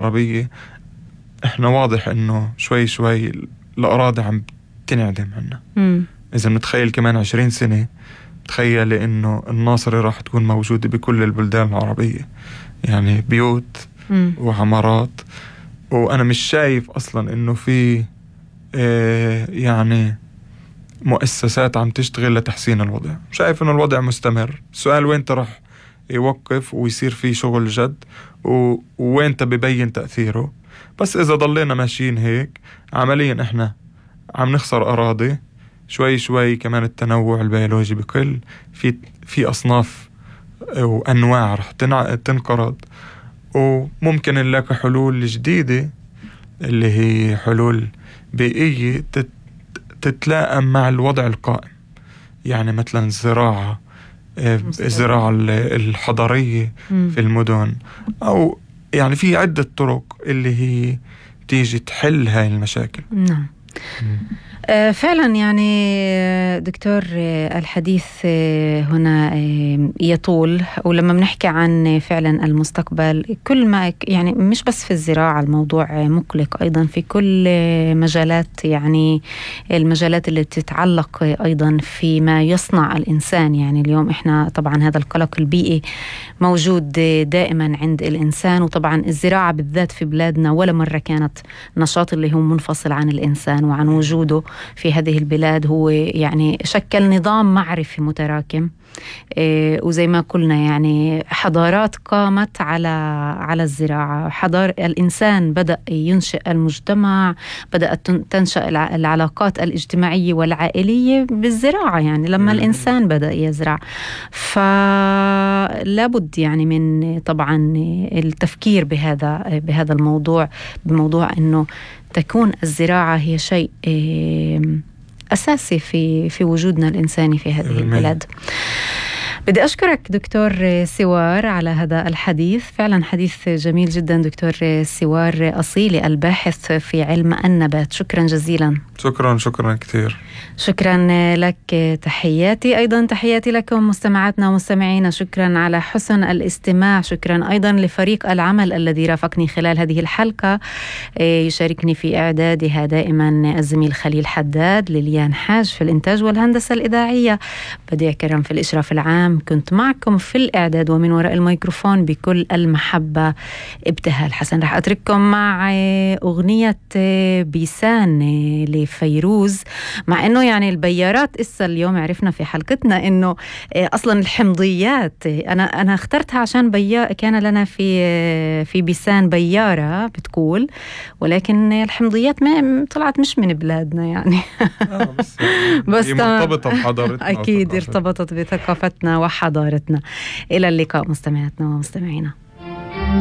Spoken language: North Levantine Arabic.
العربية احنا واضح انه شوي شوي الأراضي عم تنعدم عنا. إذا بنتخيل كمان 20 سنة تخيل انه الناصرة راح تكون موجودة بكل البلدان العربية، يعني بيوت وعمارات، وأنا مش شايف أصلا إنه في يعني مؤسسات عم تشتغل لتحسين الوضع. شايف إنه الوضع مستمر. السؤال وين راح يوقف ويصير فيه شغل جد ووين ببين تأثيره. بس إذا ضلينا ماشيين هيك عمليا إحنا عم نخسر أراضي شوي شوي. كمان التنوع البيولوجي بقل، في أصناف وأنواع رح تنقرض، وممكن نلاقي حلول جديدة اللي هي حلول بيئية تتلائم مع الوضع القائم. يعني مثلا الزراعة الحضرية في المدن، أو يعني في عدة طرق اللي هي تيجي تحل هاي المشاكل. نعم. فعلا يعني دكتور الحديث هنا يطول، ولما بنحكي عن فعلا المستقبل كل ما يعني مش بس في الزراعة الموضوع مقلق، أيضا في كل مجالات، يعني المجالات اللي تتعلق أيضا فيما يصنع الإنسان. يعني اليوم إحنا طبعا هذا القلق البيئي موجود دائما عند الإنسان، وطبعا الزراعة بالذات في بلادنا ولا مرة كانت نشاط اللي هو منفصل عن الإنسان وعن وجوده في هذه البلاد. هو يعني شكل نظام معرفي متراكم، وزي ما قلنا يعني حضارات قامت على الزراعة. الإنسان بدأ ينشئ المجتمع، بدأت تنشأ العلاقات الاجتماعية والعائلية بالزراعة، يعني لما الإنسان بدأ يزرع. فلابد يعني من طبعا التفكير بهذا الموضوع، بموضوع أنه تكون الزراعة هي شيء أساسي في وجودنا الإنساني في هذه البلاد. بدي أشكرك دكتور سوار على هذا الحديث، فعلا حديث جميل جدا. دكتور سوار أصيلي الباحث في علم النبات، شكرا جزيلا. شكرا كثير. شكرا لك. تحياتي أيضا تحياتي لكم مستمعاتنا ومستمعينا. شكرا على حسن الاستماع. شكرا أيضا لفريق العمل الذي رافقني خلال هذه الحلقة. يشاركني في إعدادها دائما الزميل خليل حداد، ليليان حاج في الإنتاج والهندسة الإذاعية، بديع كرم في الإشراف العام. كنت معكم في الإعداد ومن وراء الميكروفون بكل المحبة ابتهال حسن. رح أترككم مع أغنية بيسان لفيروز، مع أنه يعني البيارات إسا اليوم عرفنا في حلقتنا أنه أصلا الحمضيات أنا اخترتها عشان كان لنا في بيسان بيارة بتقول، ولكن الحمضيات ما طلعت مش من بلادنا يعني. بس مرتبطة بحضارتنا. أكيد ارتبطت بثقافتنا وحضارتنا. إلى اللقاء مستمعاتنا ومستمعينا.